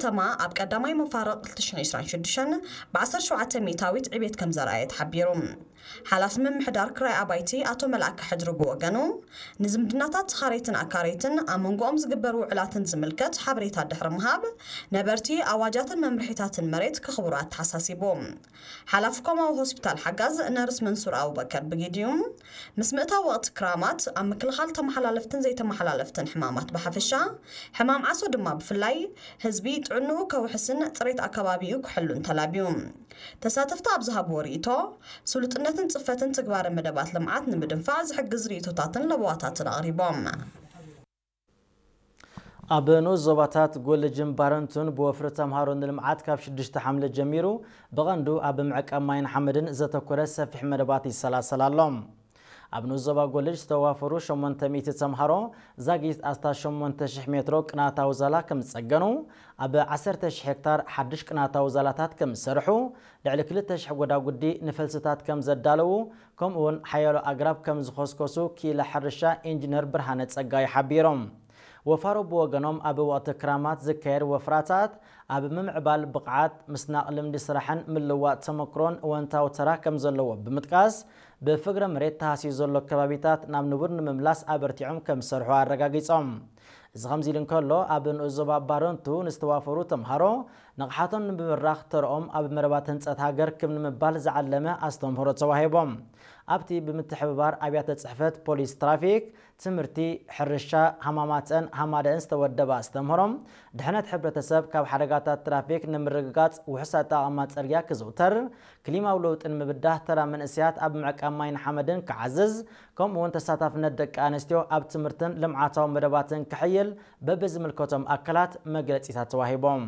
ከተማ ኣብ ቀዳማይ መፋርቕ ክልተ ሽሕን ዕስራን ሽዱሽተን ብ ዓሰርተ ሸውዓተ ሚእታዊት ዕቤት ከም ዘርኣየ ተሓቢሩ። ሓላፊ ምምሕዳር ክራይ ኣባይቲ ኣቶ መልኣከ ሕድሪ ብወገኑ፣ ንዝምድናታት ተኻረይትን ኣካረይትን ኣብ መንጎኦም ዝግበር ውዕላትን ዝምልከት ሓበሬታ ድሕሪ ምሃብ፣ ነበርቲ ኣዋጃትን መምርሒታትን መሬት ክኽብሩ ኣተሓሳሲቡ። ሓላፊ ኮማዊ ሆስፒታል ሓጋዝ ነርስ መንሱር ኣቡበከር ብጊዲኡ፣ ምስ ምእታው ወቕቲ ክራማት ኣብ ምክልኻል ተመሓላለፍትን ዘይተመሓላለፍትን ሕማማት ብሓፈሻ፣ ሕማም ዓሶ ድማ ብፍላይ፣ ህዝቢ ጥዕንኡ ከውሕስን ጽሬት ኣከባቢኡ ክሕሉን ተላብዩ። ተሳተፍቲ ኣብ ዝሃብዎ ርእይቶ፣ ስሉጥነትን ጽፈትን ትግባረ መደባት ልምዓት ንምድንፋዕ ዝሕግዝ ርእይቶታትን ለበዋታትን ኣቕሪቦም። ኣብ ንኡስ ዞባታት ጎልጅን ባረንቱን ብወፍሪ ተምሃሮ ንልምዓት ካብ ሽዱሽተ ሓምለ ጀሚሩ ብቐንዱ ኣብ ምዕቃብ ማይን ሓመድን ዘተኮረ ሰፊሕ መደባት ይሰላሰል ኣሎ። ኣብ ንኡስ ዞባ ጎልጅ ዝተዋፈሩ ሸሞንተ ሚእቲ ተምሃሮ ዛጊት ኣስታት ሸሞንተ ሽሕ ሜትሮ ቅናታዊ ዛላ ከም ዝጸገኑ፣ ኣብ ዓሰርተ ሽሕ ሄክታር ሓድሽ ቅናታዊ ዛላታት ከም ዝሰርሑ፣ ልዕሊ ክልተ ሽሕ ጎዳጉዲ ንፈልስታት ከም ዘዳለዉ፣ ከምኡውን ሓያሎ ኣግራብ ከም ዝኸስከሱ ክኢላ ሕርሻ ኢንጂነር ብርሃነ ጸጋይ ሓቢሮም። ወፋሮ ብወገኖም ኣብ ወቕቲ ክራማት ዝካየድ ወፍራታት ኣብ ምምዕባል ብቕዓት፣ ምስናቕ ልምዲ ስራሕን ምልዋጥ ተመክሮን እወንታዊ ተራ ከም ዘለዎ ብምጥቃስ፣ ብፍግረ መሬት ተሃስዩ ዘሎ ከባቢታት ናብ ንቡር ንምምላስ ኣበርቲዖም ከም ዝሰርሑ ኣረጋጊጾም። እዚ ከምዚ ኢሉ እንከሎ፣ ኣብ ንኡስ ዞባ ባረንቱ ንዝተዋፈሩ ተምሃሮ ንቕሓቶም ንምብራኽ ተርኦም ኣብ መረባት ህንጸት ሃገር ክብ ንምባል ዝዓለመ ኣስተምህሮ ተዋሂቦም። ኣብቲ ብምትሕብባር ኣብያተ ጽሕፈት ፖሊስ ትራፊክ፣ ትምህርቲ፣ ሕርሻ፣ ሃማማተን ሃማደእን ዝተወደበ ኣስተምህሮም፣ ድሕነት ሕብረተሰብ ካብ ሓደጋታት ትራፊክ ንምርግጋጽ ውሑስ ኣጠቓቕማ ጽርግያ ክዝውተር፣ ክሊማዊ ለውጢ ንምብዳህ ተራ መንእሰያት ኣብ ምዕቃብ ማይን ሓመድን ክዓዝዝ፣ ከምኡውን ተሳታፍነት ደቂ ኣንስትዮ ኣብ ትምህርትን ልምዓታዊ መደባትን ክሕይል በብዝምልከቶም ኣካላት መግለጺታት ተዋሂቦም።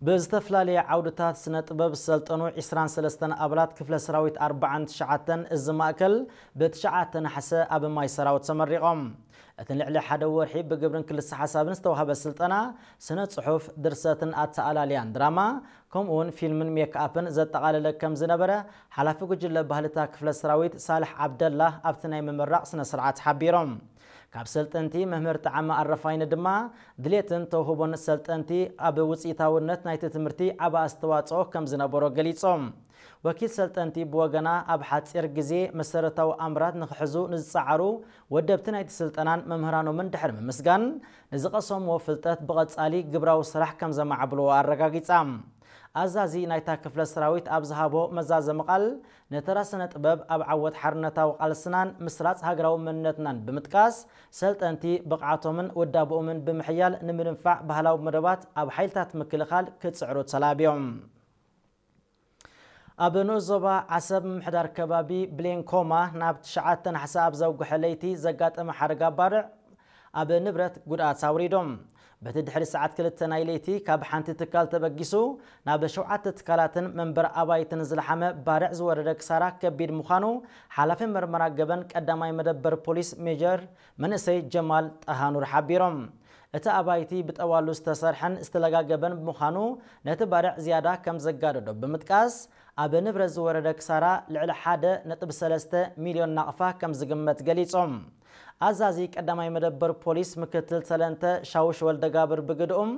ብዝተፈላለየ ዓውድታት ስነ ጥበብ ዝሰልጠኑ ዕስራን ሰለስተን ኣባላት ክፍለ ሰራዊት ኣርባዓን ትሽዓተን እዚ ማእከል ብትሽዓተ ነሓሰ ኣብ ማይ ሰራዊት ተመሪቖም። እቲ ንልዕሊ ሓደ ወርሒ ብግብርን ክልሰ ሓሳብን ዝተዋህበ ስልጠና ስነ ጽሑፍ፣ ድርሰትን ኣተኣላልያን ድራማ፣ ከምኡውን ፊልምን ሜክኣፕን ዘጠቓለለ ከም ዝነበረ ሓላፊ ጉጅለ ባህልታ ክፍለ ሰራዊት ሳልሕ ዓብደላ ኣብቲ ናይ ምምራቕ ስነ ስርዓት ሓቢሮም። ካብ ሰልጠንቲ መምህር ጠዓመ ኣረፋይነ ድማ ድሌትን ተውህቦን ሰልጠንቲ ኣብ ውፅኢታውነት ናይቲ ትምህርቲ ዓቢ ኣስተዋፅኦ ከም ዝነበሮ ገሊጾም። ወኪል ሰልጠንቲ ብወገና ኣብ ሓፂር ግዜ መሰረታዊ ኣምራት ንክሕዙ ንዝፀዓሩ ወደብቲ ናይቲ ስልጠናን መምህራኖምን ድሕሪ ምምስጋን ንዝቐሰምዎ ፍልጠት ብቐፃሊ ግብራዊ ስራሕ ከም ዘማዕብልዎ ኣረጋጊጻ። ኣዛዚ ናይታ ክፍለ ሰራዊት ኣብ ዝሃቦ መዛዘሚ ቃል፣ ንተራ ስነ ጥበብ ኣብ ዓወት ሓርነታዊ ቃልስናን ምስራጽ ሃገራዊ መንነትናን ብምጥቃስ፣ ሰልጠንቲ ብቕዓቶምን ውዳብኦምን ብምሕያል ንምድንፋዕ ባህላዊ መደባት ኣብ ሓይልታት ምክልኻል ክጽዕሩ ተላብዮም። ኣብ ንኡስ ዞባ ዓሰብ ምምሕዳር ከባቢ ብሌንኮማ ናብ ትሽዓተ ነሓሰ ኣብ ዘውግሐ ለይቲ ዘጋጠመ ሓደጋ ባርዕ ኣብ ንብረት ጉድኣት ኣውሪዶም። በቲ ድሕሪ ሰዓት ክልተ ናይ ለይቲ ካብ ሓንቲ ትካል ተበጊሱ ናብ ሸውዓተ ትካላትን መንበር ኣባይትን ዝለሓመ ባርዕ ዝወረደ ክሳራ ከቢድ ምዃኑ ሓላፊ መርመራ ገበን ቀዳማይ መደበር ፖሊስ ሜጀር መንእሰይ ጀማል ጣሃኑር ሓቢሮም። እቲ ኣባይቲ ብጠዋሉ ዝተሰርሐን ዝተለጋገበን ብምዃኑ ነቲ ባርዕ ዝያዳ ከም ዘጋደዶ ብምጥቃስ፣ ኣብ ንብረት ዝወረደ ክሳራ ልዕሊ ሓደ ነጥቢ ሰለስተ ሚልዮን ናቕፋ ከም ዝግመት ገሊጾም። ኣዛዚ ቀዳማይ መደበር ፖሊስ ምክትል ሰለንተ ሻውሽ ወልደጋብር ብግድኡም፣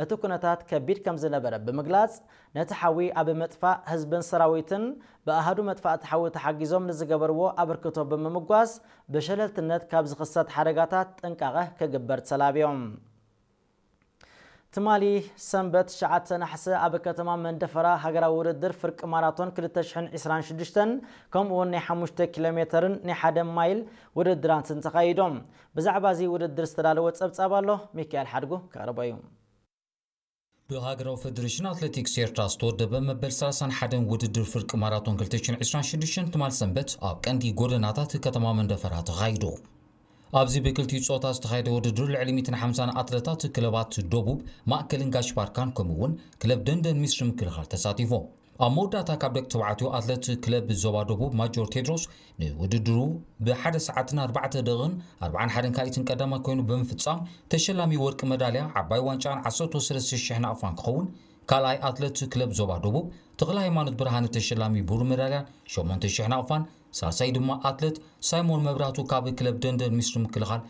እቲ ኩነታት ከቢድ ከም ዝነበረ ብምግላጽ፣ ነቲ ሓዊ ኣብ ምጥፋእ ህዝብን ሰራዊትን ብኣሃዱ መጥፋእቲ ሓዊ ተሓጊዞም ንዝገበርዎ ኣበርክቶ ብምምጓስ፣ ብሸለልትነት ካብ ዝኽሰት ሓደጋታት ጥንቃቐ ክግበር ተላብዮም። ትማሊ ሰንበት ትሽዓተ ነሓሰ ኣብ ከተማ መንደፈራ ሃገራዊ ውድድር ፍርቂ ማራቶን ክልተ ሽሕን ዕስራን ሽዱሽተን ከምኡ እውን ናይ ሓሙሽተ ኪሎ ሜተርን ናይ ሓደ ማይል ውድድራትን ተኻይዶም። ብዛዕባ እዚ ውድድር ዝተዳለወ ጸብጻብ ኣሎ፣ ሚካኤል ሓድጉ ከቕርቦ እዩ። ብሃገራዊ ፈደሬሽን ኣትሌቲክስ ኤርትራ ዝተወደበ መበል ሰላሳን ሓደን ውድድር ፍርቂ ማራቶን ክልተ ሽሕን ዕስራን ሽዱሽተን ትማል ሰንበት ኣብ ቀንዲ ጎደናታት ከተማ መንደፈራ ተኻይዱ። ኣብዚ ብክልቲኡ ጾታ ዝተኻየደ ውድድር ልዕሊ ሚእትን ሓምሳን ኣትለታት ክለባት ደቡብ፣ ማእከልን ጋሽ ባርካን ከምኡ እውን ክለብ ደንደን ሚስሪ ምክልኻል ተሳቲፎም። ኣብ መወዳእታ ካብ ደቂ ተባዕትዮ ኣትለት ክለብ ዞባ ደቡብ ማጆር ቴድሮስ ንውድድሩ ብሓደ ሰዓትን ኣርባዕተ ደቕን ኣርባዓን ሓደን ካልኢትን ቀዳማይ ኮይኑ ብምፍጻም ተሸላሚ ወርቂ መዳልያ ዓባይ ዋንጫን ዓሰርተ ሰለስተ ሽሕ ናቕፋን ክኸውን፣ ካልኣይ ኣትለት ክለብ ዞባ ደቡብ ተኽለ ሃይማኖት ብርሃነ ተሸላሚ ብሩር መዳልያን ሸሞንተ ሽሕ ናቕፋን፣ ሳልሳይ ድማ ኣትለት ሳይሞን መብራህቱ ካብ ክለብ ደንደን ሚስሪ ምክልኻል